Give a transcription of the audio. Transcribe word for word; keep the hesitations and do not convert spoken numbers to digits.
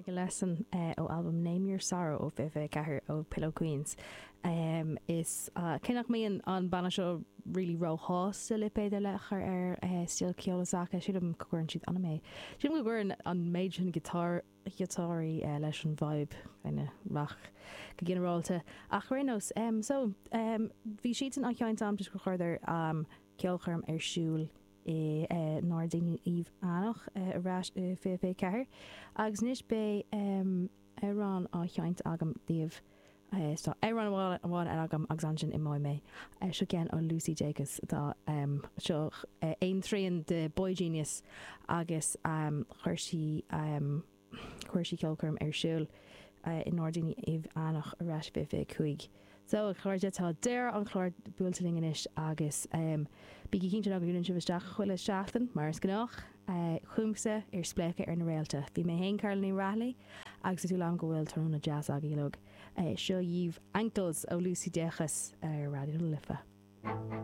Like a Lesson ó albam Name Your Sorrow ó fiche fiche ceathair ó Pillow Queens. Is cé nach mbíonn an banna seo really róshásta lipéad ar leith a chur ar stíl ceoil s'acu, sílim go gcuireann siad an-méid. Sílim go gcuireann an méid sin giotár giotáirí leis an vibe kind rock go ginearálta. Ach ar aon nós, so bhí siadsan á sheinnt agam toisc gur chuireadar ceolchoirm ar siúl i nGairdíní Uíbh Eachach ar ais i fiche fiche ceathair. Agus anois beidh amhrán á sheinnt agam daoibh. Tá amhrán amháin eile agam agus ansin imeoidh mé. Seo ceann ó Lucy Dacus atá seo aon trian de boygenius agus chuir sí chuir sí ceolchoirm ar siúl i nGairdíní Uíbh Eachach ar ais fiche fiche cúig. So, a chairde, tá deireadh an chláir buailte linn anois agus bígí cinnte ná go dúnann sibh isteach chuile seachtain, mar is gnách, chugamsa ar Spléachadh ar na Réalta. Bhí mé féin, Carla Ní Raghallaigh, agus tá súil agam go bhfuil tráthnóna deas agaibh uilig. Seo dhaoibh Ankles ó Lucy Dacus ar Raidió na Life.